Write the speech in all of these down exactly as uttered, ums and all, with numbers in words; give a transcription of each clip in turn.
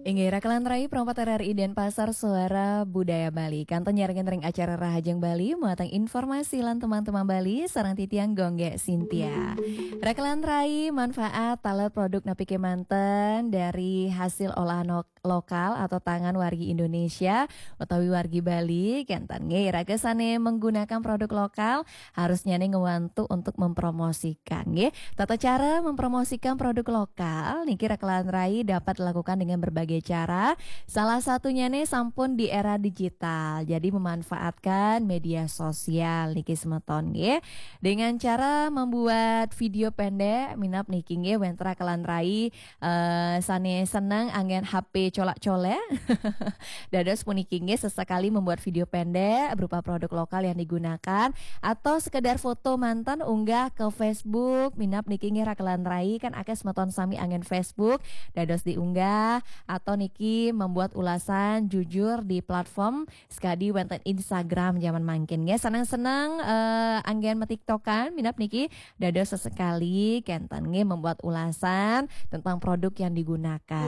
Inggih, Rakelan Rai, perempat R R I Denpasar, Suara Budaya Bali. Kantun nyarengin ring acara Rahajeng Bali, muatan informasi lan teman-teman Bali, sareng titiang Gung Gé Sintia. Rakelan Rai, manfaat taler produk napi kémanten dari hasil olahan lo-, lokal atau tangan wargi Indonesia utawi wargi Bali, kénten nggih, iraga sané menggunakan produk lokal, harusnya nih ngewantu untuk mempromosikan, nggih. Tata cara mempromosikan produk lokal niki Rakelan Rai dapat dilakukan dengan berbagai cara. Salah satunya nih sampun di era digital. Jadi memanfaatkan media sosial niki semeton, nggih. Dengan cara membuat video pendek, minab niki nggih wénten Rakelan Rai eh, sané seneng anggén H P colak-colek. Dados puniki nggih sesekali membuat video pendek berupa produk lokal yang digunakan atau sekedar foto manten unggah ke Facebook, minab niki nggih Rakelan Rai kan akéh semeton sami anggén Facebook, dados diunggah atau niki membuat ulasan jujur di platform sekadi wénten Instagram zaman mangkin nggih. Seneng-seneng eh, anggén metiktokan, minab niki dados sesekali kénten nggih membuat ulasan tentang produk yang digunakan.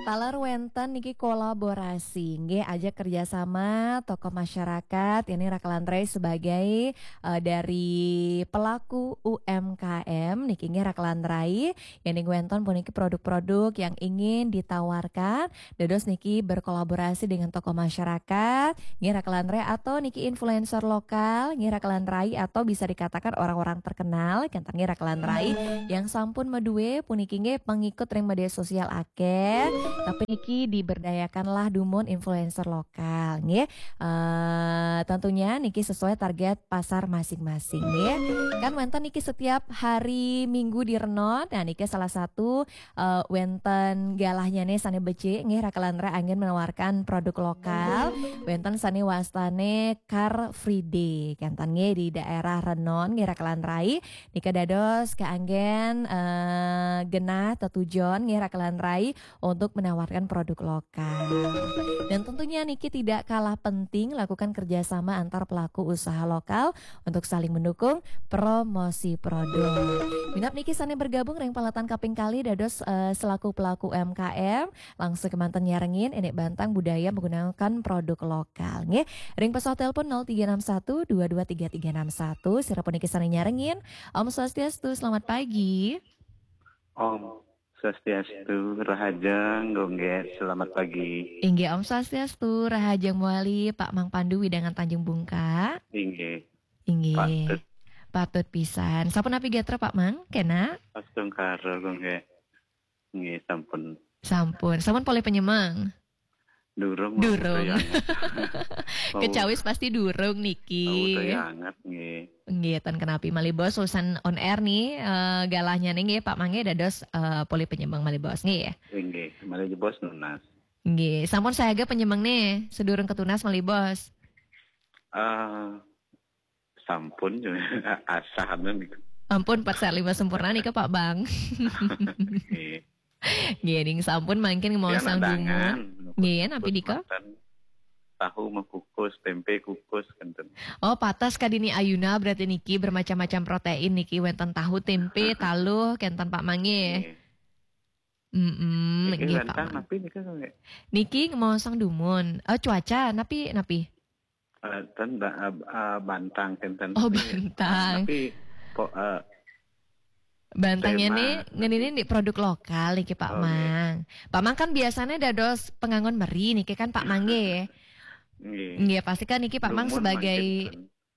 Taler wénten niki kolaborasi nggih, ajak kerjasama tokoh masyarakat, ini Rakelan Rai sebagai eh, dari pelaku U M K M niki nggih Rakelan Rai, yang wénten puniki produk-produk yang ingin ditawarkan, dados niki berkolaborasi dengan tokoh masyarakat, nggih Rakelan Rai, atau niki influencer lokal, nggih Rakelan Rai, atau bisa dikatakan orang-orang terkenal, kénten nggih Rakelan Rai, yang sampun madué puniki nggih pengikut ring media sosial akéh, tapi niki diberdayakanlah dumun influencer lokal, nggih. Eh, tentunya niki sesuai target pasar masing-masing, nggih. Kan wénten niki setiap hari Minggu di Renon, nah niki salah satu eh, wénten galahnya nih sané becik nggih Rakelan Rai anggén menawarkan produk lokal. Wénten sané wastané Car Free Day. Kénten nggih di daerah Renon nggih Rakelan Rai. Nika dados kaanggén eh, genah tetujon nggih Rakelan Rai untuk menawarkan produk lokal. Dan tentunya niki tidak kalah penting lakukan kerjasama antar pelaku usaha lokal untuk saling mendukung promosi produk. Minab niki sané bergabung ring paletan kaping kalih dados eh, selaku pelaku U M K M, langsung kémanten nyarengin ené bantang budaya menggunakan produk lokal nggih. Ring pesawat telepon nol tiga enam satu dua dua tiga tiga enam satu, sira puniki sané nyarengin. Om Swastiastu, selamat pagi. Om Swastiastu, Rahajeng, Gung Gé, selamat pagi. Inggih, Om Swastiastu, Rahajeng malih, Pak Mang Pandu wewidangan Tanjung Bungka. Inggih. Inggih. Patut. Patut pisan. Sapunapi gatra Pak Mang? Kénak? Astungkara, Gung Gé. Nggih, sampun. Sampun. Sampun polih panyemeng? Durung, durung. Kecawis pasti durung niki. Tahu anget nggih. Nggih, ten kenapi malih Bos, usan on air nih eh, galahnya nih nggih Pak Mang nggih dados eh, polih panyemeng malih Bos nggih. Nggih, malih Bos nunas. Nggih, sampun sayaga panyemeng nih, sedurung ketunas malih Bos. Eh, sampun, asah anu niku. Ampun, Pak Salima sempurna nika Pak Bang. Nggih. Nggih, ning sampun mangkin ngemaosang dumun. Nggih, napi dika? Tahu mah kukus, tempe kukus, kénten. Oh, pateh kadini ayuna berarti niki bermacam-macam protein niki, wénten tahu, tempe, taluh, kénten Pak Mang nggih. Nggih. Mm-mm, nggih, Pak Mang. Napi nika, Gung Gé? Niki ngemaosang dumun. Eh, cuaca, napi, napi? Eh, ten ba-, eh, eh, bantang, kénten. Oh, bantang. Tapi kok eh, bantangnya nih, ngeninin di produk lokal niki Pak Mang. Pak Mang kan biasanya dados penganggon meri niki kan Pak Mang nggih. Nggih. Nggih, pasti kan niki Pak Mang sebagai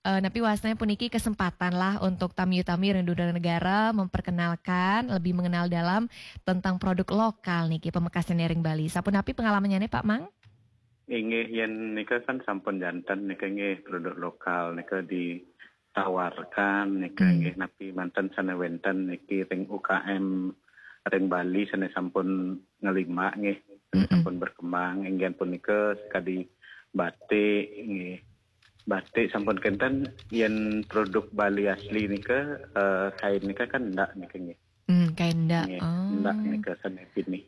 eh, napi wastanya puniki kesempatan lah untuk tamiu-tamiu ring dunia negara memperkenalkan, lebih mengenal dalam tentang produk lokal niki pamekasnya ring Bali. Sapunapi pengalamannya nih Pak Mang? Inggih, yén nika kan sampun janten nika nggih produk lokal nika ditawarkan nika nggih napi manten sané wénten niki ring U K M ring Bali sané sampun ngelimbak nggih, sané sampun berkembang inggih punika sekadi batik nggih. Batik sampun kénten yén produk Bali asli nika eh, kain nika kan endak nika nggih. Hmm, kain endak. Nggih, oh. Endak nika sané pinih.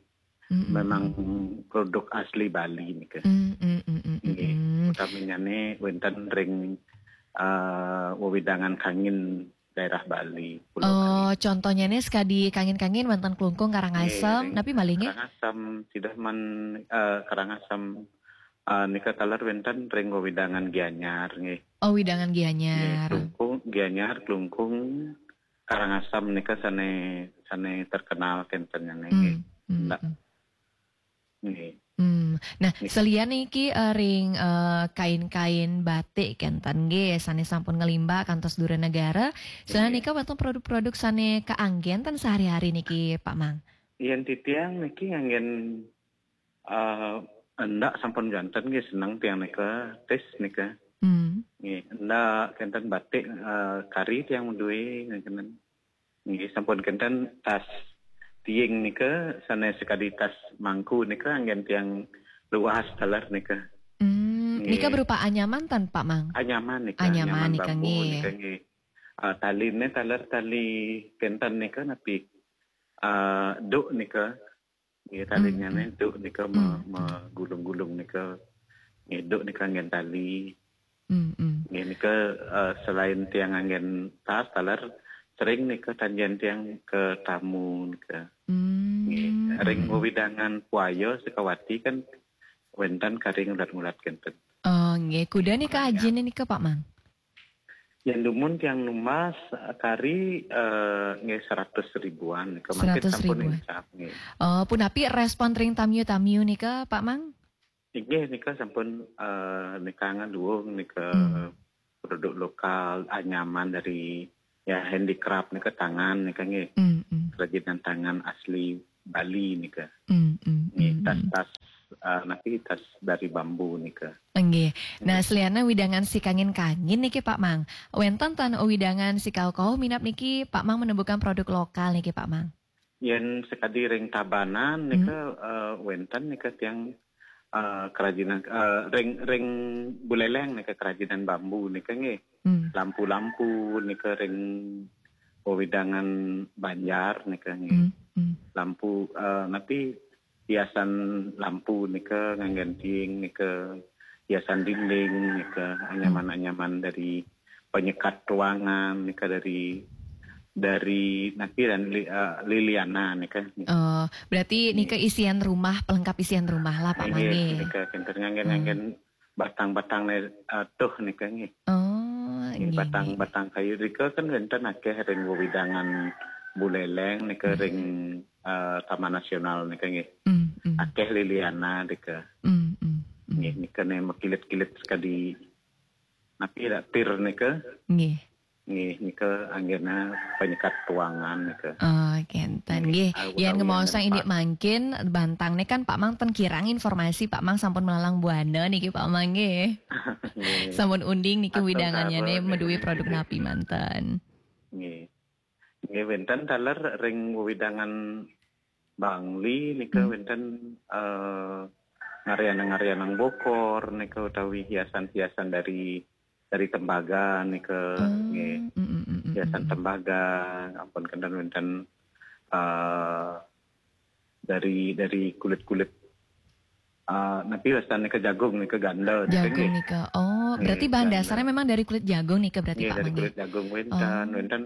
Mm-mm. Memang produk asli Bali nika. Mm, mm, mm, mm, mm, nggih. Mm. Utaminya nih wénten ring eh, wewidangan kangin daerah Bali, Pulau Oh, Bali. Contohnya nih sekadi kangin-kangin wénten klungkung Karangasem, Nggih, napi malih nggih? Karangasem, sidah man, eh, Karangasem, eh, nika taler wénten ring wewidangan Gianyar nggih. Oh, wewidangan Gianyar. Nggih, klungkung, Gianyar, klungkung, Karangasem nika sané, sané terkenal kénten nggih. Hmm, hmm, Ndak. Hmm. Nggih. Hmm. Nah, nggih. Selian niki, eh, ring, eh, kain-kain batik kénten nggih, sané sampun ngelimbak kantos dura negara. Selian nggih. Nika wénten produk-produk sané kaanggén ten sehari-hari niki, Pak Mang? Yén titiang niki nganggén, eh, endak sampun janten nggih, seneng tiang nika, tis nika. Hmm. Nggih, endak kénten batik, eh, kari tiang madué kénten. Nggih, sampun kénten tas tiing nika, sané sakadi tas mangku nika, anggén tiang luas taler nika. Hmm, nggih. Nika berupa anyaman ten, Pak Mang? Anyaman nika, anyaman, anyaman nika, bambu nggih. Nika, nggih. Ah, taliné taler tali kénten nika napi? Ah, duk nika. Nggih, taliné hmm, hmm. Duk nika me-, hmm, hmm. Magulung-gulung nika. Nggih, duk nika anggén tali. Hmm, hmm. Nggih, nika, eh, selain tiang anggén tas taler, sering nika tan jén tiang ka tamu nika. Hmm, nggih, ring hmm. Wewidangan Puaya Sukawati kan wénten kari ngulat-ngulat kénten. Oh, nggih. Kuda nika ajin nika, Pak Mang? Yén dumun tiang numbas, eh, kari, eh, nggih seratus ribuan nika. Mangkin seratus ribuan. Sampun incap, nggih. Oh, punapi respon ring tamiu-tamiu nika, Pak Mang? Inggih, nika sampun, eh, nika ngaluung nika hmm. Produk lokal, anyaman dari, ya, handicraft nika, tangan nika nggih. Hmm, hmm. Kerajinan tangan asli Bali nika. Hmm, hmm, nggih, hmm, tas-tas, eh, napi tas dari bambu nika. Nggih. Nah, hmm. Selian wewidangan si kangin-kangin niki, Pak Mang. Wénten ten wewidangan si kauh-kauh minab niki, Pak Mang, menemukan produk lokal niki, Pak Mang? Yén sakadi ring Tabanan nika, hmm. Eh, wénten nika tiang, eh, kerajinan, eh, ring, ring Buleleng nika kerajinan bambu nika nggih. Hmm. Lampu-lampu nika ring wewidangan Banjar nika nggih. Hmm, hmm. Lampu, eh, napi hiasan lampu nika nganggén tiing nika, hiasan dinding nika, anyaman-anyaman dari penyekat ruangan nika dari, dari napi dan li-, eh, liliana nika. Oh, berarti nika isian rumah, pelengkap isian rumah lah, Pak Mang nggih. Nggih, nika kénten nganggén, hmm. Nganggén batang-batang né, eh, tuh nika nggih. Oh, nggih, nggih, batang-batang kayu nika kan wénten akéh ring wewidangan Buleleng nika, hmm. Ring, eh, Taman Nasional nika nggih. Hmm, hmm. Akéh liliana nika. Hmm, hmm, hmm. Nggih, nika né makilit-kilit sekadi napi dak pir nika. Nggih. Nggih, nika anggéna penyekat ruangan nika. Oh, kénten. Nggih. Nggih, ah, yén utawi ngemaosang indik mangkin bantang nika kan Pak Mang ten kirang informasi, Pak Mang sampun melalang buana niki, Pak Mang nggih. Nggih. Sampun unding niki wewidangannya nika madué produk napi manten. Nggih. Nggih, wénten taler ring wewidangan Bangli nika, hmm. Wénten, eh, ngaryanan-ngaryanan bokor nika utawi hiasan-hiasan dari, dari tembaga nika, oh, nggih. Mm, mm, mm, mm, hiasan mm. Tembaga, ampun kénten wénten, eh, dari, dari kulit-kulit, eh, napi wastan nika, jagung nika, ganda nika, jagung nggih. Nika. Oh, nggih, berarti bahan ganda. Dasarnya memang dari kulit jagung nika berarti, nggih, Pak Mang nggih? Dari kulit jagung wénten, oh. Wénten,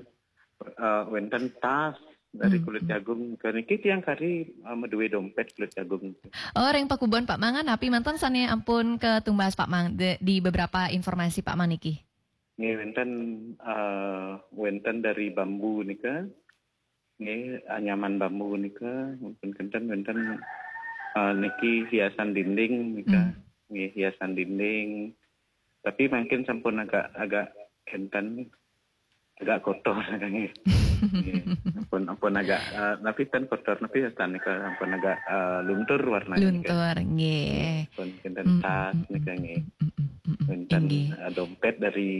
eh, wénten tas dari hmm. Kulit jagung. Niki tiang kari, eh, madué dompét kulit jagung. Oh, ring pakubon Pak Mang napi manten sané ampun katumbas Pak Mang de-, di beberapa informasi Pak Mang niki? Nggih, wénten, eh, wénten dari bambu nika. Nggih, anyaman bambu nika, ampun kénten wénten, eh, niki hiasan dinding nika. Hmm. Nggih, hiasan dinding. Tapi mangkin sampun agak, agak kénten, agak kotor nggih. Nggih. Ampun, ampun agak, eh, napi ten kotor, napi tan nika ampun agak, eh, luntur warnanya nika. Luntur, nggih. Nggih, ampun kénten tas nika nggih. Mm, mm, mm, mm, mm. Wénten, inggih. Eh, dompét dari,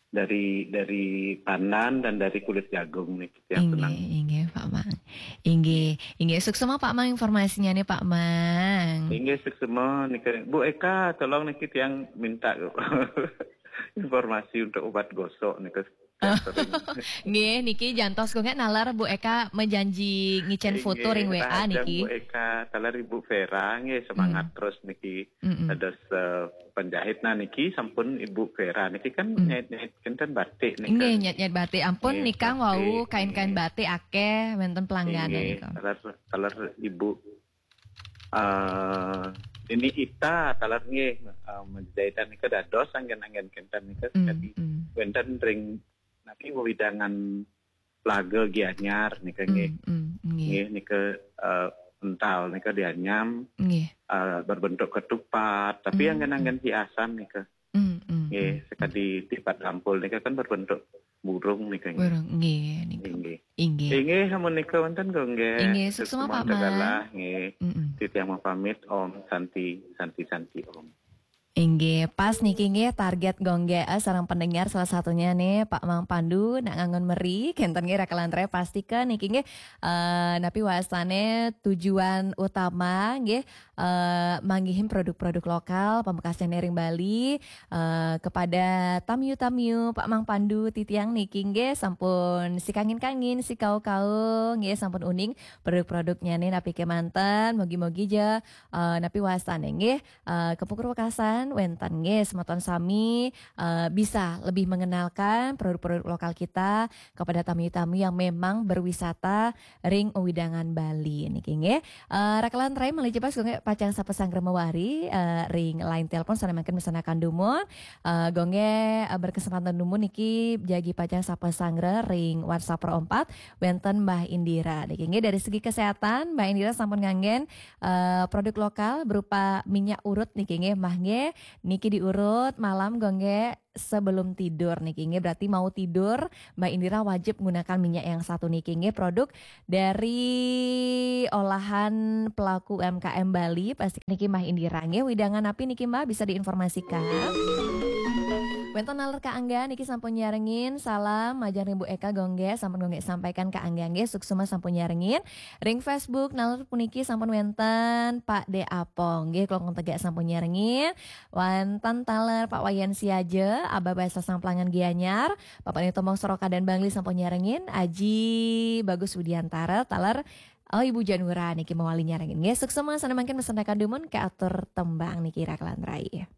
dari, dari pandan dan dari kulit jagung nih, yang senang. Inggih, inggih, Pak Mang. Inggih, inggih, suksma Pak Mang informasinya nih, Pak Mang. Inggih, suksma nika. Bu Eka, tolong niki tiang minta informasi untuk obat gosok nika. Nggih, niki jantos kok nggih naler Bu Eka menjanji ngicen foto ring W A niki. Bu Eka, taler Ibu Vera nggih, semangat terus niki. Dados, eh, penjahit nah niki sampun Ibu Vera niki kan nyait-nyait kenten batik niki. Nggih, nyait-nyait batik. Ampun nggih, nikang batik, wau kain-kain nggih, batik akeh wenten pelanggan nggih, nika. Taler, taler Ibu, eh, ini Ita taler nggih, eh, menjahitan nika dados anggen-anggen kenten nika. Mm, jadi mm, wenten ring niki wewidangan Plaga Gianyar nika nggih. Mm, mm, nggih. Nggih, nika, eh, ental nika dianyam, nggih, eh, berbentuk ketupat, tapi mm, anggen-anggen mm, hiasan nika. Mm, mm, nggih, mm, sekadi tipat dampul nika kan berbentuk burung nika nggih. Burung, nggih, nika. Nggih. Inggih. Inggih, sampun nika wonten kok nggih. Inggih, suksma, suksma Pak Mang. Nggih. Mm, mm. Titiang mau pamit, Om Santi, Santi, Santi, Om. Inggih, pas niki nggih target gongge, eh, sareng pendengar salah satunya nih Pak Mang Pandu nak ngangon meri, kenten nggih rakelan rai pasti ke niki nggih, eh, napi wastane tujuan utama nggih, eh, manggihin produk-produk lokal pamekasnya ring Bali, eh, kepada tamiu-tamiu Pak Mang Pandu titiang niki nggih sampun sikangin-kangin, sikau-kau nggih sampun uning produk-produknya nih napi kemanten, mogi-mogi ja, eh, napi wastane nggih. Eh, Kepungkur Wekasan, wenten nggih semeton sami, eh, bisa lebih mengenalkan produk-produk lokal kita kepada tamu-tamu yang memang berwisata ring wewidangan Bali niki nggih. Eh, rakelan rai malih jepas nggih pacang sapa sanggra mawari, eh, ring line telepon sane mangkin mesanakan dumun. Eh, gongge, eh, berkesempatan dumun niki jagi pacang sapa sanggra ring WhatsApp Pro empat wenten Mbah Indira niki nggih. Dari segi kesehatan Mbah Indira sampun nganggen eh, produk lokal berupa minyak urut niki nggih, Mbah nggih. Niki diurut malam gongge sebelum tidur niki nggih. Berarti mau tidur, Mbah Indira wajib menggunakan minyak yang satu niki nggih. Produk dari olahan pelaku U M K M Bali, pasti niki Mbah Indira nggih. Wewidangan napi niki Mbah bisa diinformasikan? Wenten naler Kak Angga niki sampun nyarengin salam majeng ring Bu Eka gongge sampun gongge sampaikan Kak Angga nggih. Suksma sampun nyarengin. Ring Facebook naler puniki sampun wenten Pak De Apong nggih, Klungkung Tegak sampun nyarengin. Wenten taler Pak Wayan Siaja, Abah Bahasa Samplangan Gianyar, Bapak Nito Mong Soroka dan Bangli sampun nyarengin, Aji Bagus Widiantara taler, oh, Ibu Janura niki mawali nyarengin nggih. Suksma sane mangkin mesanakan dumun ke atur tembang niki rakelan rai.